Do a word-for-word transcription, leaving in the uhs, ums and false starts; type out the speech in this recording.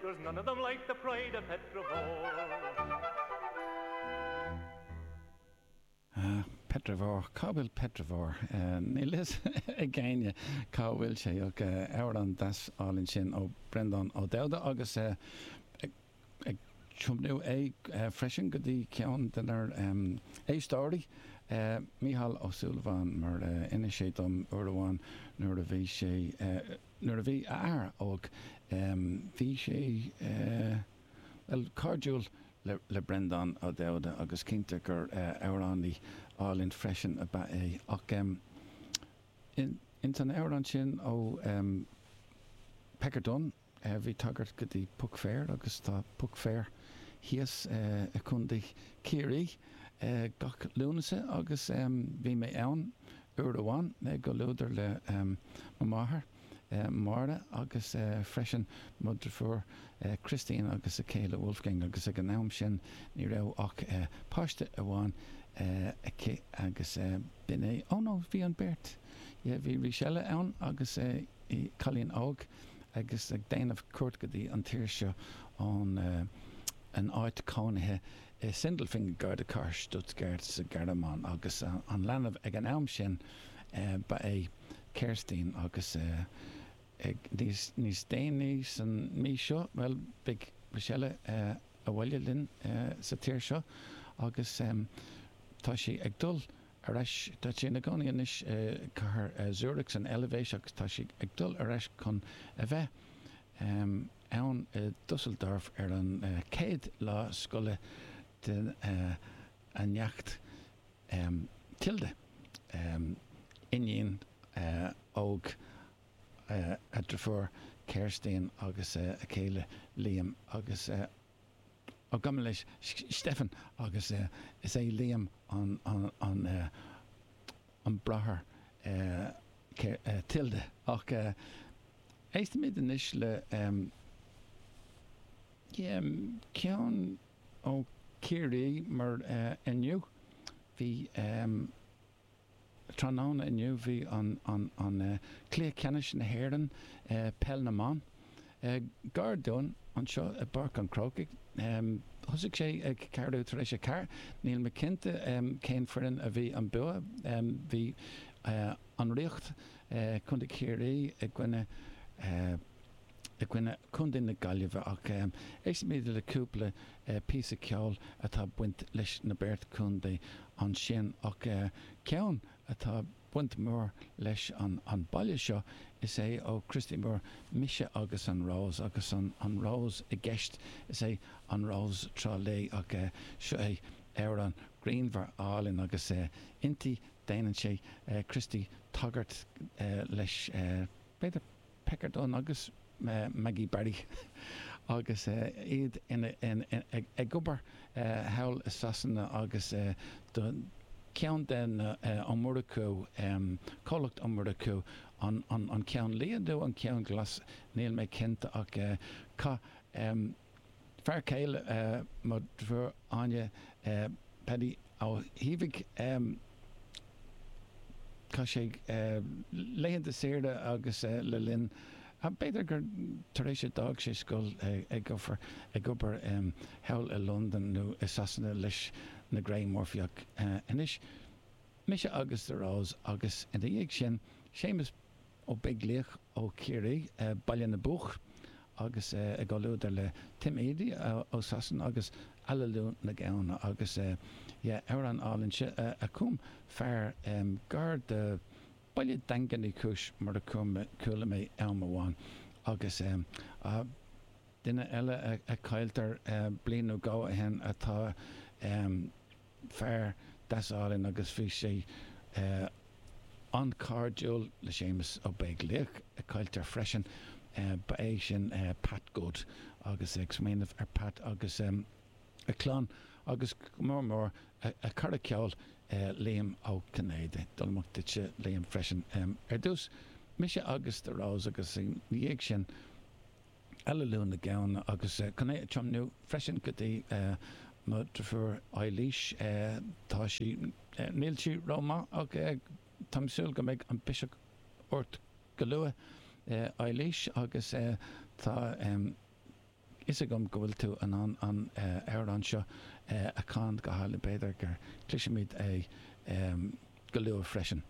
There's none of them like the pride of Petravore. Uh, Petravore, cá bhfuil Petravore Níl fhios ag éinne cá bhfuil sé ach amhrán deas álainn sin ó Breandán Ó Dubhda agus ag tiomnú é freisin go dtí ceann denár éisteoirí Mícheál Ó Súilleabháin mar inis sé dom uair amháin nuair a bhí sé nuair a bhí a athair óg bhí sé well cairdiúil le le Breandán Ó Dubhda agus cinnte gur amhránaí álainn freisin ab ea é ach in ins an amhrán sin ó Pecker Dunne bhí tagairt go dtí Puc Fair agus tá Puc Fair thíos i gContae Chiarraí gach Lúnasa agus bhí mé ann uair amháin i gcomhluadar le mo mháthair Máire agus freisin mo dheirfiúr Christine agus a céile Wolfgang agus ag an am sin ní raibh ach páiste amháin aici agus b'in é oh no bhí an beirt yeah bhí rís eile ann agus cailín óg agus ag déanamh cuairt go dtí an tír seo ón an áit cónaithe i Sindelfingen gar do chathair Stuttgart sa Ghearmáin agus an leanbh ag an am sin ba é Kerstin agus ag níos níos déanaí san mí seo bhuel beidh Rochelle abhaile linn sa tír seo agus tá sí ag dul ar ais tá sí ina cónaí anois i cathair Zurich san Eilvéis agus tá sí ag dul ar ais chun a bheith ann i Dusseldorf ar an chéad lá scoile den a neacht Tilda iníon óg a deirfiúr Kerstin agus a céile Liam agus ó gabh mo leithscéal Stefan agus is é Liam an an an an bráthair Tilda ach éistfimid anois le yeah ceann ó Ciarraí mar inniu bhí tráthnóna inniu bhí an an an cluiche ceannais na hÉireann peil na mban gar dúinn anseo i bPáirc an Chrócaigh. Thosaigh sé ag ceathrú tar éis a ceathair. Níl mé cinnte cén foireann a bhí an bua. Bhí an Ríocht Contae Chiarraí i gcoinne i gcoinne Contae na Gaillimhe ach éistfimid le cúpla píosa ceoil atá baint leis na beirt chontae ansin ach ceann atá baint mór leis an an baile seo is é ó Christy Moore Mise agus an Rós agus an an Rós i gceist is é an Rós Trá Lí ach seo é amhrán grianmhar álainn agus inti déanann sé Christy tagairt leis b'fhéidir Pecker Dunne agus Maggie Barry agus iad ina ag obair thall i Sasana agus do ceann de na Ó Murchú comhlacht Ó Murchú an an an ceann liath nó an ceann glas níl mé cinnte ach chaith fear céile mo dheirfiúr Áine Paddy Ó hÍomhaigh chaith sé laethanta saoire agus le linn b'fhéidir gur tar éis a d'fhág sé scoil ag obair ag obair thall i Londain nó i Sasana leis na Grey Murphy ach anois mise agus The Rose agus ina dhiaidh sin Séamus Ó Beaglaoich ó Chiarraí Baile na Buach agus i gcomhluadar le Tim Edey ó Sasana agus Aililiú na Gamhna agus yeah amhrán álainn seo a chum fear gar do Baile Daingean Uí Chúis mar a chuala mé am amháin agus duine eile a cailltear bliain nó dhó ó shin atá fear deas álainn agus bhí sé an-chairdiúil le Séamus Ó Beaglaoich a cailltear freisin ba é sin Pat Good agus ag smaoineamh ar Pat agus a chlann agus go mór mór a chara ceoil Liam Ó Cinnéide. Dul amach duitse Liam freisin. Ar dtús mise agus The Rose agus ina dhiaidh sin Aililiú na Gamhna agus chun é a tiomnú freisin go dtí mo dheirfiúr Eilís. Tá sí níl sí rómhaith ach táim súil go mbeidh an biseach ort go luath Eilís agus tá fhios agam go bhfuil tú in ann an amhrán seo a chanadh go hálainn, b'fhéidir gur cloisfimid é go luath freisin.